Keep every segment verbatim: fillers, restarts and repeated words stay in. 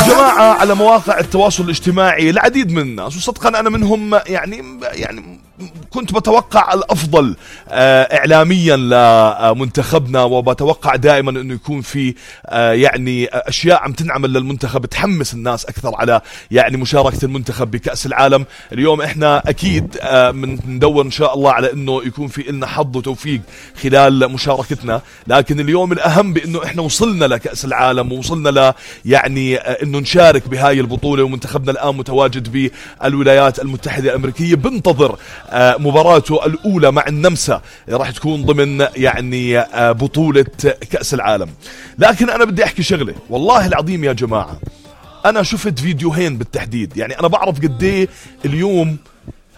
جماعة على مواقع التواصل الاجتماعي العديد من الناس، وصدقا أنا منهم، يعني يعني كنت بتوقع الأفضل إعلاميا لمنتخبنا، وبتوقع دائما أنه يكون في يعني أشياء عم تنعمل للمنتخب تحمس الناس أكثر على يعني مشاركة المنتخب بكأس العالم. اليوم إحنا أكيد بندور إن شاء الله على أنه يكون في إلنا حظ وتوفيق خلال مشاركتنا، لكن اليوم الأهم بأنه إحنا وصلنا لكأس العالم، ووصلنا ل يعني أنه نشارك بهاي البطولة، ومنتخبنا الآن متواجد بالولايات المتحدة الأمريكية بنتظر مباراته الأولى مع النمسا، راح تكون ضمن يعني بطولة كأس العالم. لكن أنا بدي أحكي شغلة والله العظيم يا جماعة، أنا شفت فيديوهين بالتحديد، يعني أنا بعرف قديه اليوم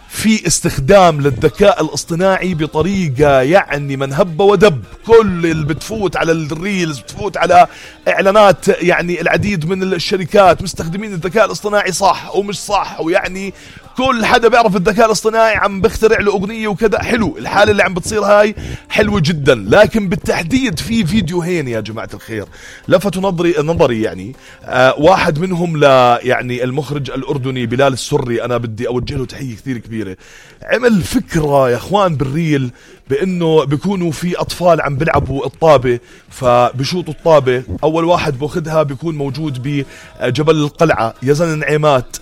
في استخدام للذكاء الاصطناعي بطريقة يعني من هب ودب. كل اللي بتفوت على الريلز، بتفوت على اعلانات، يعني العديد من الشركات مستخدمين الذكاء الاصطناعي صح ومش صح، ويعني كل حدا بيعرف الذكاء الاصطناعي عم بخترع له اغنية وكذا. حلو الحالة اللي عم بتصير هاي، حلوة جدا، لكن بالتحديد في فيديوهين يا جماعة الخير لفتوا نظري نظري يعني آه واحد منهم ل يعني المخرج الأردني بلال السري، أنا بدي أوجه له تحية كثير كبيرة. عمل فكرة يا اخوان بالريل بانه بيكونوا في اطفال عم بيلعبوا الطابة، فبشوطوا الطابة، اول واحد باخذها بيكون موجود بجبل القلعة يزن نعيمات،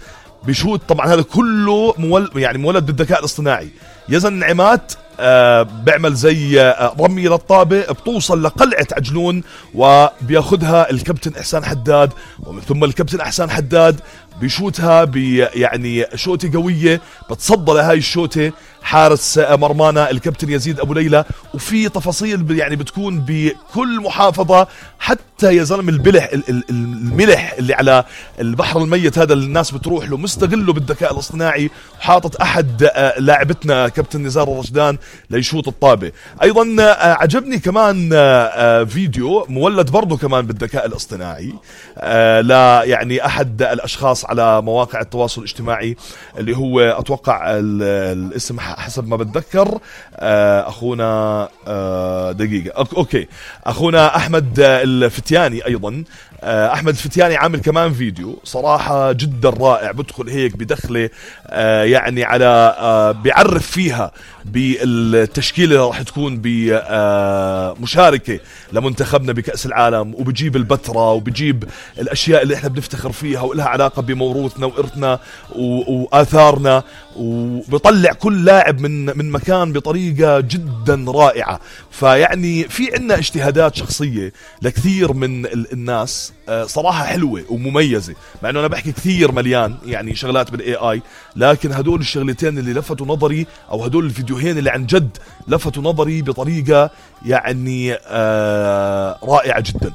بشوط طبعا هذا كله مول يعني مولد بالذكاء الاصطناعي. يزن نعيمات آه بيعمل زي آه رمي للطابة، بتوصل لقلعة عجلون وبياخدها الكابتن إحسان حداد، ومن ثم الكابتن إحسان حداد بيشوتها بي يعني شوتة قوية، بتصدى لهاي الشوتة حارس مرمانا الكابتن يزيد أبو ليلى. وفي تفاصيل يعني بتكون بكل محافظة، حتى يا زلمة البلح الملح اللي على البحر الميت هذا اللي الناس بتروح له مستغله بالذكاء الاصطناعي، وحاطط أحد لاعبتنا كابتن نزار الرشدان ليشوط الطابة. أيضا عجبني كمان فيديو مولد برضو كمان بالذكاء الاصطناعي لا يعني أحد الأشخاص على مواقع التواصل الاجتماعي، اللي هو أتوقع الاسم حسب ما بتذكر أخونا دقيقة أوكي أخونا أحمد الفتياني. أيضا أحمد الفتياني عامل كمان فيديو صراحة جدا رائع، بدخل هيك بدخله يعني على بيعرف فيها بالتشكيلة اللي راح تكون بمشاركة لمنتخبنا بكأس العالم، وبجيب البتراء وبجيب الأشياء اللي احنا بنفتخر فيها ولها علاقة بموروثنا وإرثنا وآثارنا، وبيطلع كل لاعب من من مكان بطريقة جدا رائعة. فيعني في عنا اجتهادات شخصية لكثير من الناس صراحة حلوة ومميزة، مع انه انا بحكي كثير مليان يعني شغلات بالاي اي، لكن هدول الشغلتين اللي لفتوا نظري، او هدول الفيديوهين اللي عن جد لفتوا نظري بطريقة يعني آه رائعة جدا.